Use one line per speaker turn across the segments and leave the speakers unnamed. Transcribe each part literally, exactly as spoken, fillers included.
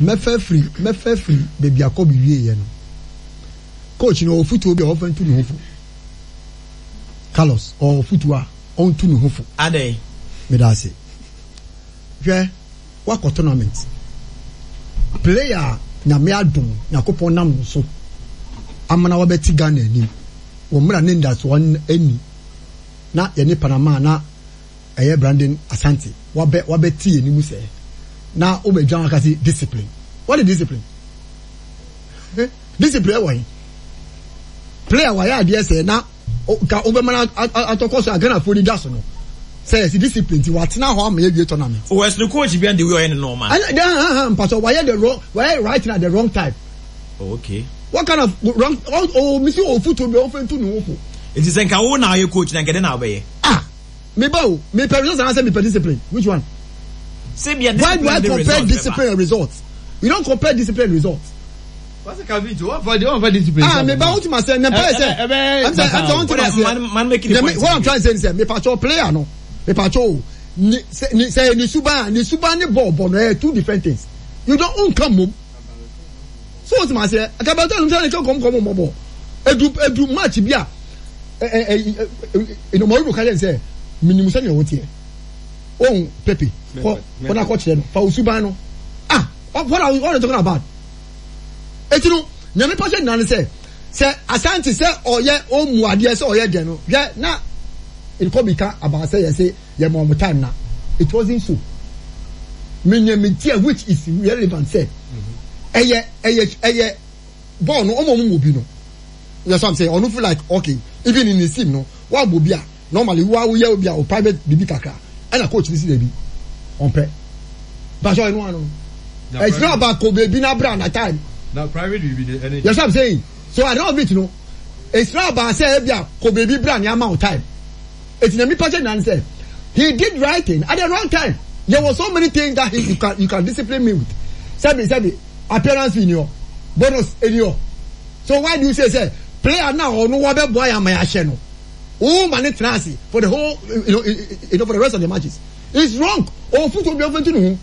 Mɛfɛ firi mɛfɛ firi beebi akɔ bi wie yɛ no, coach no ɔwɔ futuo bi a ɔfɛ ntu ne ho fo. Carlos ɔwɔ futuo a ɔntu ne ho fo.
Adɛn?
Meda ase. Hwɛ, wakɔ tournament, player a Nyame adom, Nyakopɔn nam no so amana wabɛti Ghana anim wɔ mmerɛ ne ndasoɔ ani na yɛne Panama na ɛyɛ Brandon Asante wabɛ wabɛti yɛn anim sɛ na wobɛdwa waka sɛ discipline. What is discipline? Eh, discipline ɛwɔ he? Player wayɛ adeɛ sɛ na ka wobɛma atɔkɔ so a Ghanafoɔ ni da so no sɛ yɛsi discipline ti watena hɔ ama yɛwie tournament.
O ɛsɛ coach bi and the way ɔyɛ ne normal.
Ɛnna den mpatɔ wayɛ the wrong, wayɛ right at the wrong time.
Oh, okay.
What kind of wrong? Oh, oh misi o futu bi o fɛn tu ne ho fo.
Nti sɛ nka wo na ɔyɛ coach na nka de na ɔbɛyɛ?
Ah, mi ba o, mi pɛ results and I say mi pɛ discipline. Which one?
Sɛ
Why do I compare discipline and results? You don't compare discipline and results.
What's the One for the one for discipline.
Ah, me ba wuti ma sɛ ne mpa yɛ sɛ ɛm sɛ ɛm sɛ wɔn ti ma
sɛ. Man making the point.
What I'm trying to say is sɛ mipatwɔ player no, mipatwɔ o, ni sɛ ni sɛ ni suban ni suban ni bɔɔl bɔ no ɛyɛ two different things. You don't nka mom. So wɔn ti ma sɛ akabɛtɔ ɛnum sɛ ɛnka kɔm kɔm mɔ bɔ edu edu match bi a ɛ ɛ ɛ ɛnumɔri ka yɛn sɛ minimu sɛ nea wɔteɛ ohun pepe kɔ kɔ na kɔ kyerɛ no fa o suban no. Ah, what are what are you talking about? Eti no nyame pɔsɛ nyina ne sɛ sɛ Asante sɛ ɔyɛ ɔmu adeɛ sɛ ɔyɛ deɛ no, hwɛ na nkɔ bi ka about sɛ yɛsɛ yɛ ma ɔmo time na it wasn't so. Menyɛ me tia which is relevant sɛ ɛyɛ ɛyɛ ɛyɛ bɔɔl no ɔmo ɔmo mu bi no yɛ so. I'm saying ɔno feel like, okay, even in his team no wa bɔ bi a normally wa woyɛ obi a o private bibi kakra ɛna coach ni si dɛbi ɔmpɛ basɔ ɛnu ano. It's not about ko beebi na bra na time.
Na private bibi de ɛne.
Yes, I'm saying so at the end of it no, it's not about say ebi a ko beebi bra ni ama o time. Eti na mi pa kyɛ nan sɛ he did right thing at the wrong time. There were so many things that he you can you can discipline me with. Sɛbi sɛbi, appearance fee ni hɔ, bonus ni hɔ, so why do you say say player na ɔno wa bɛ bɔ ayɛ ama yɛ ahyɛ no o ma ne tena ase for the whole you know you know for the rest of the matches? It's wrong. Ofutu obi ofe tu ne ho.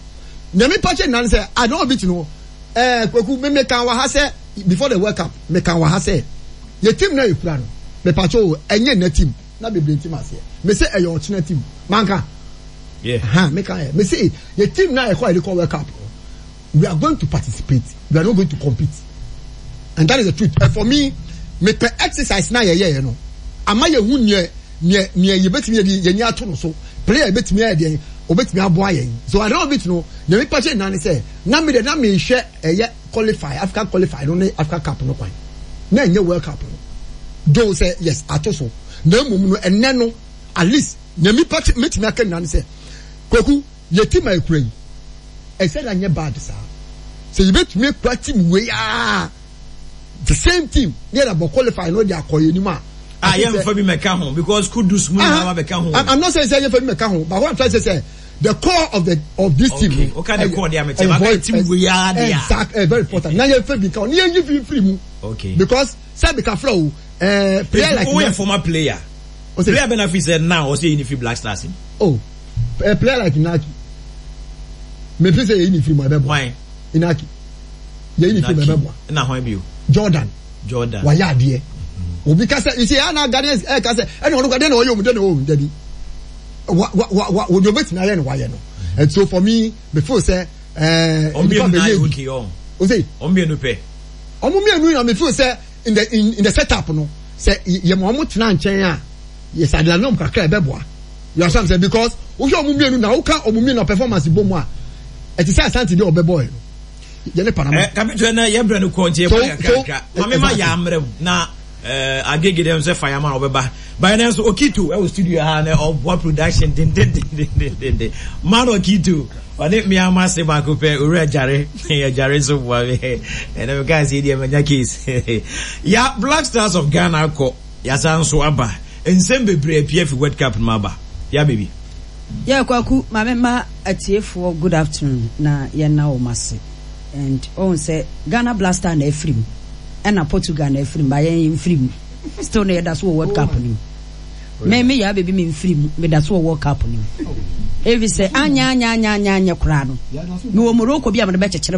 Nyame pa kyɛ nan sɛ at the end of it no, ɛɛ Kwaku, me me kan wɔ ha sɛ before the World Cup, me kan wɔ ha sɛ yɛ team na yɛ kura no, me pa kyɛ o, ɛnyɛ nna team na bebree ntim aseɛ. Me sɛ ɛyɛ ɔkyena team manka.
Yeah.
Ha me kan yɛ me sɛ yɛ team na yɛ kɔ yɛ de kɔ World Cup no, we are going to participate, we are not going to compete, and that is the truth. And for me, me pɛ exercise na yɛ yɛ yɛ no ama yɛ hu neɛ neɛ neɛ yɛbɛtumi yɛ de yɛn ni ato no so, player yɛbɛtumi ayɛ deɛ obɛtumi aboa yɛn. So at the end of it no, nea mi pa kyɛ nyinaa ne sɛ na mi de na mi hwɛ ɛyɛ qualify, Africa qualify no ne Africa Cup no kwan na ɛnyɛ World Cup no though sɛ yes ato so. Na emom no, ɛnɛ no at least nea mi pa kyɛ mɛtumi aka nyinaa ne sɛ, Kwaku, yɛ team a ekura yi ɛsɛ na nyɛ bad saa sɛ yɛbɛtumi ekura team wei aa, the same team ne yɛrɛ bɔ qualify no de akɔ yɛn anim a.
Ah, yɛn nfa bi mɛka ho because Kudus mu nyinaa ba bɛka ho.
I'm, I'm not saying say yɛn fa bi mɛka ho, but what I'm trying to say say the core of the of this
okay.
team.
Okay, the core de amete ba team wei aa de a.
Exactly, very important. Na yɛn fa bi ka ho ne yɛn yi fi firi mu.
Okay.
Because sɛbi kafra o, ɛɛ player like.
O yɛ former player. Player bɛ na fi sɛ now ɔsɛ yi ni fi Black Stars.
Oh, a player like Inaki. Me fi sɛ yɛyi ni firi mu ɛbɛ bɔ.
Why?
Inaki. Yɛyi ni firi mu ɛbɛ bɔ.
Ɛna hɔn bi o?
Jordan.
Jordan.
Wayɛ adeɛ. Obi kasa, you see, ana Ghanaians ɛ kasa ɛna ɔno adeɛ na ɔyɛ omu de na ɔwɔ mu dabi wa wa wa wa wɔde obetumi ayɛ no wayɛ no. And so for me, me feel sɛ ɛɛ.
Ɔmo mmienu na ayɛ okay ɔn.
O se.
Ɔmo mmienu pɛ.
Ɔmo mmienu na me feel sɛ in the in, in the setup no sɛ yɛ ma ɔmo tena nkyɛn a yɛ sɛ adeɛ kakra ɛbɛ boa. You understand sɛ because wohwɛ ɔmo mmienu na woka ɔmo mmienu na performance bɔ mu a, ɛte sɛ Asante deɛ ɔbɛ bɔ yɛ no yɛ ne Panama.
Ɛ kapitɛ na yɛ brɛ no kɔ nti yɛ kɔ yɛ kakra maame ma yɛ amrɛ mu na ɛɛ Agege dɛm sɛ fayama a ɔbɛba bayɛ nɛ nso Okito ɛwɔ studio ha na ɔboa production dendendendendenden man. Okito ɔne mmea ma se baako pɛ owura gyare yɛ gyare nso boa me ɛnna mi kaa se deɛ manya case ya. Black Stars of Ghana akɔ yasa nso aba, nsɛm bebree apia fi World Cup no mu aba ya baby.
Yɛ Kwaku, maame ma atiefoɔ good afternoon na yɛna wɔn ase. And ɔhun sɛ Ghana Black Star na afiri mu ɛna Portugal na afiri mu ba yɛn mfiri mu, still na yɛda so wɔ World Cup no mu. Me me yɛ abɛbi, me mfiri mu, meda so wɔ World Cup no mu efi sɛ anya anya anya anya anya koraa no mewɔ Morocco bi a mede bɛkyekyere.